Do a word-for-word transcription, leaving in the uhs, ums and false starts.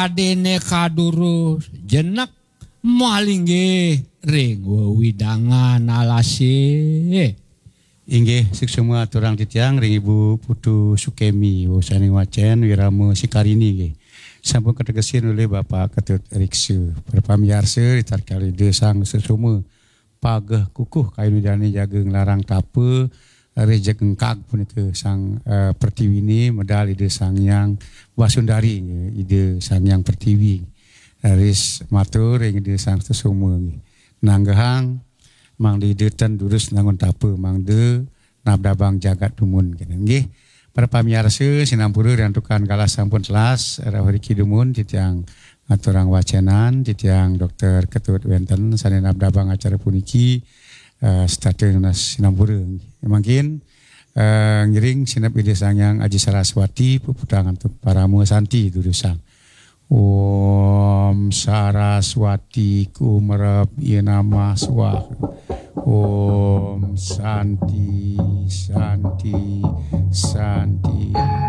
Adene kadurus jenek malinggih ring wewidangan alase. Inggih, suksma aturang titiang ring Ibu Putu Sukemi, wusaning wacen Wirama Sikarini nggih. Sampun kategesin olih Bapak Ketut Riksa. Para pamiarsa, ritatkala Ida Sang Susuma pageh kukuh kayun Idane jaga nglarang tapa, ri jeg engkag punika Sang, eh, Pertiwine medal Ida Sang Hyang Wasundari, Ida Sang Hyang Pertiwi. Ris matur ring Ida Sang Susuma nggih. Nanggehang mangda Ida ten durus nangun tapa, mangda nabdabang jagat dumun kene nggih. Para pamiarsa sinampura, riantukan galah sampun telas, rauh riki dumun titiang ngaturang wacenan, titiang Dokter Ketut wenten sane nabdabang acara puniki, eh, setata nunas sinampura. Mangkin, eh, ngiring sineb Ida Sang Hyang Aji Saraswati, puputang antuk parama santi durusang. Om Saraswati Kumerep Yenamah Swaha. Om Santi, Santi,